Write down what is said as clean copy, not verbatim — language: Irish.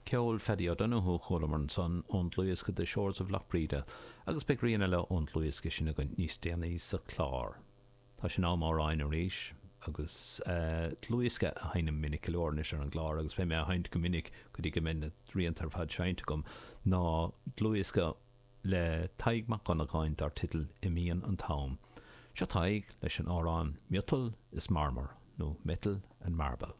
Ceol Phaddy O'Donoghue a chualamar ansan ón dlúthdhiosca The Shores of Lough Breda agus beidh rian eile ón dlúthdhiosca sin againn níos déanaí sa chlár. Tá sé in am amhráin arís agus dlúthdhiosca a sheinnim minic go leor anois ar an gclár agus beidh mé á sheinnt go minic go dtí go mbeidh na rianta ar fad seinnte agam ná dlúthdhiosca le Tadhg Mac Dhonnagáin dar teideal Imíonn an t-Am. Seo Tadhg leis an amhrán Miotal is Marmar nó Metal and Marble.